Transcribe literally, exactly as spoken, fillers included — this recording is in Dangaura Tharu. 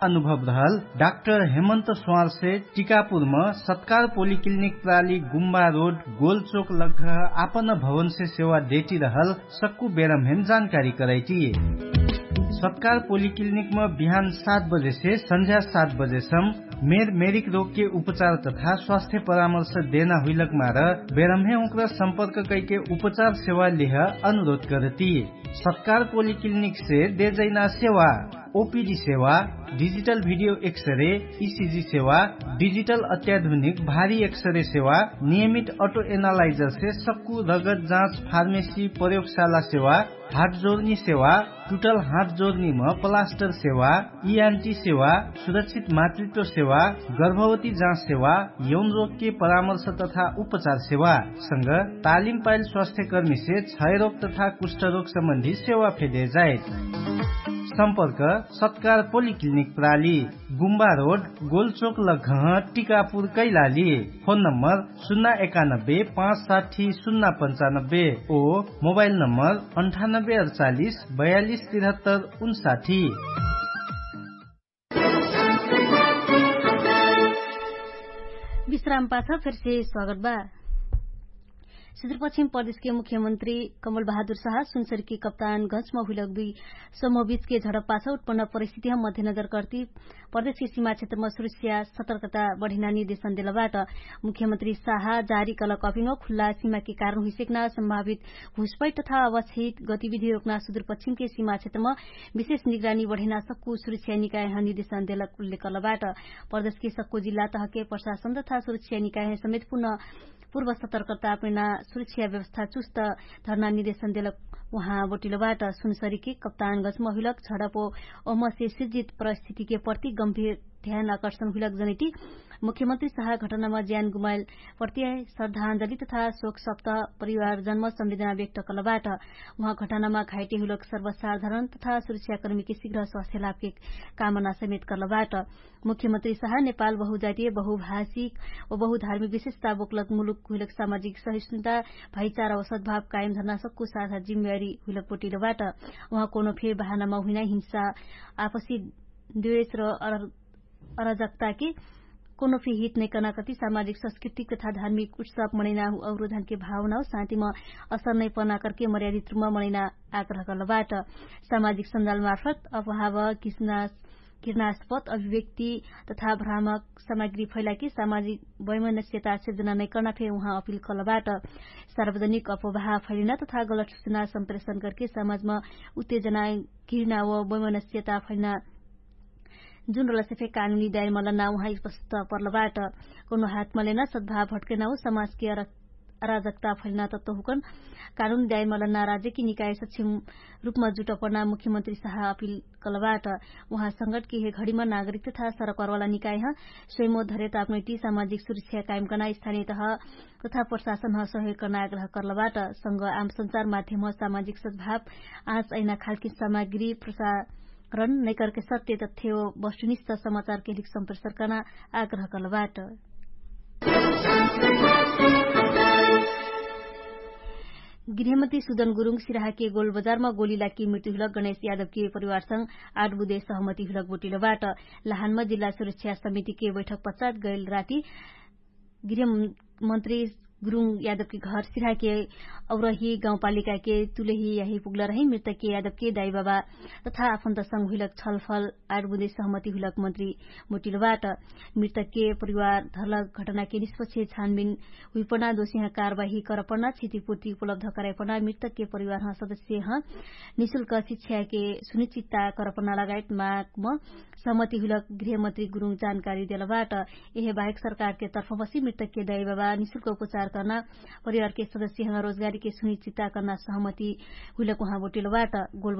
अनुभव रहल डाक्टर हेमन्त स्वारसे टिकापुरम सत्कार पोलिक्लिनिक प्राली गुम्बा रोड गोलचोक लग्घ आपन भवनसे सेवा देटी रहल सक्कु बेरमहेम जानकारी करैटी। सत्कार पोलिक्लिनिकम बिहान सात बजेसे सन्झ्या सात बजेसम मेर मेरिक रोगके उपचार तथा स्वास्थ्य परामर्श देना हुइलक मार बेरमहे उक्र सम्पर्क कैके उपचार सेवा लेह अनुरोध करती। सत्कार पोलिक्लिनिकसे देजैना सेवा ओपिडी सेवा, डिजिटल भिडियो एक्सरे, इसिजी सेवा, डिजिटल अत्याधुनिक भारी एक्सरे सेवा, नियमित अटो एनालाइजरसे सक्कु रगत जाँच फार्मेसी प्रयोगशाला सेवा, हात जोर्नी सेवा, टुटल हात जोर्नीम प्लास्टर सेवा, इआन्टी सेवा, सुरक्षित मातृत्व सेवा, गर्भवती जाँच सेवा, यौन रोगके परामर्श तथा उपचार सेवा संग तालिम पाइल स्वास्थ्यकर्मीसे क्षयरोग तथा कुष्ठरोग सम्बन्धी सेवा फेदे जाइत। सम्पर्क सत्कार पोलिक्लिनिक प्राली गुम्बा रोड गोलचोक लघह टिकापुर कैलाली। फोन नम्बर सुन्ना एकानब्बे पाँच साठी सुन्ना पन्चानब्बे ओ मोबाइल नम्बर अन्ठानब्बे अडचालिस बयालिस तिरहत्तर उन्साठी। विश्राम पाछ फेरसे स्वागत बा। सुदूरपश्चिम प्रदेशके मुख्यमन्त्री कमल बहादुर साहा सुनसरीके कप्तान गन्चमा हुइलक दुइ समूहबीचके झडप पाछ उत्पन्न परिस्थितिह मध्यनजर कर्ति प्रदेशके सीमा क्षेत्रमा सुरक्षा सतर्कता बढेना निर्देशन देलबाट। मुख्यमन्त्री साहा जारी कलक अपिङ्ग खुल्ला सीमाके कारण हुइसेक्ना सम्भावित घुसपैट तथा अवच्छित गतिविधि रोक्ना सुदूरपश्चिमके सीमा क्षेत्रमा विशेष निगरानी बढेना सक्कु सुरक्षा निकायह निर्देशन देलक उल्लेख कर्लबाट। प्रदेशके सक्कु जिल्ला तहके प्रशासन तथा सुरक्षा निकायह समेत पुनः पूर्व सतर्कता अपनेना सुरक्षा व्यवस्था चुस्त धर्ना निर्देशन देलक। उहाँ बोटिलोबाट सुनसरीके कप्तान गजमहुइलक झडपो ओहमसे सिर्जित परिस्थितिके प्रति गम्भीर ध्यान आकर्षण हुइलक जनैटी। मुख्यमन्त्री साहा घटनामा ज्यान गुमाइल प्रति श्रद्धाञ्जली तथा शोक सप्त परिवार जन्म संवेदना व्यक्त कलबाट। उहाँ घटनामा घाइटे हुइलक सर्वसाधारण तथा सुरक्षाकर्मीके शिघ्र स्वास्थ्य लाभके कामना समेत कलबाट। मुख्यमन्त्री साहा नेपाल बहुजातीय बहुभाषिक ओ बहुधार्मिक विशेषता बोक्लक मुलुक हुइलक सामाजिक सहिष्णुता भाइचारा ओ सद्भाव कायम धर्ना सक्कु साथ जिम्मेवारी हुइलक बोटिलोबाट। उहाँ कोनो फेर बहानामा हुइना हिंसा आपसी द्वेष र अराजकताके कोनो फे हित नै कर्ना कति सामाजिक संस्कृतिक तथा धार्मिक उत्सव मनैना अवरोधनके भावना ओ शान्तिमा असर नै पर्ना कर्के मर्यादित रुपमा मनैना आग्रह कर्लबाट। सामाजिक सन्जाल मार्फत अभाव किसना किर्नास्पत अभिव्यक्ति तथा भ्रामक सामग्री फैलाके सामाजिक वैमनस्यता सिर्जना नै कर्ना फे उहाँ अपिल कर्लबाट। सार्वजनिक अपवाह फैलिना तथा गलत सुचना सम्प्रेषण कर्के समाजमा उत्तेजना घिर्ना व वैमनस्यता फैलिना जुन रलसे फे कानुनी दायरमलना उहाँ स्पष्ट पर्लबाट। कौनो हातमलेना सद्भाव भट्केना व समाजके अराजकता फैलिना तत्व हुकन कानुनी दायरमलना राज्यकी निकाय सक्षम रुपमा जुटपर्ना मुख्यमन्त्री साहा अपिल कलबाट। उहाँ संगठके हे घडीमा नागरिक तथा सरकवारवाला निकायह स्वयमो धरेत आपनैटी सामाजिक सुरक्षा कायम कर्ना स्थानीयतह तथा प्रशासनह सहयोग कर्ना आग्रह कर्लबाट। संग आम सञ्चार माध्यमह सामाजिक सद्भाव आँच अहिना खालकी सामग्री प्रसारण नैकर्के सत्य तथ्य वस्तुनिष्ठ समाचारके लिक सम्प्रेषण कर्ना आग्रह कर्लबाट। गृहमन्त्री सुदन गुरुङ सिराहाके गोलबजारमा गोली लाकी मृत्यु हुलक गणेश यादवके परिवारसँग आठ बुधे सहमति हुलक बोटिलोबाट। लहानमा जिल्ला सुरक्षा समितिके बैठक पश्चात गैल राति गृहमन्त्री गुरुङ यादवके घर सिराहाके औरही गाउँपालिकाके तुलेही याही पुग्लरही मृतकके यादवके दाइबाबा तथा आफन्तसँग हुइलक छलफल आठ बुधे सहमति हुइलक मन्त्री बोटिलोबाट। मृतकके परिवार धर्लक घटनाके निष्पक्ष छानबिन हुइपना दोषिहाँ कारवाही करपना क्षतिपूर्ति उपलब्ध कराइपना मृतकके परिवारह सदस्यह निशुल्क शिक्षाके सुनिश्चितता करपना लगायत मागम सहमति हुइलक गृहमन्त्री गुरुङ जानकारी देलबाट। यहे बाहेक सरकारके तर्फबसी मृतकके दाइबाबा निशुल्क उपचार कर्ना परिवारके सदस्यह रोजगारीके सुनिश्चितता कर्ना सहमति हुइलक उहाँ बोटिलोबाट।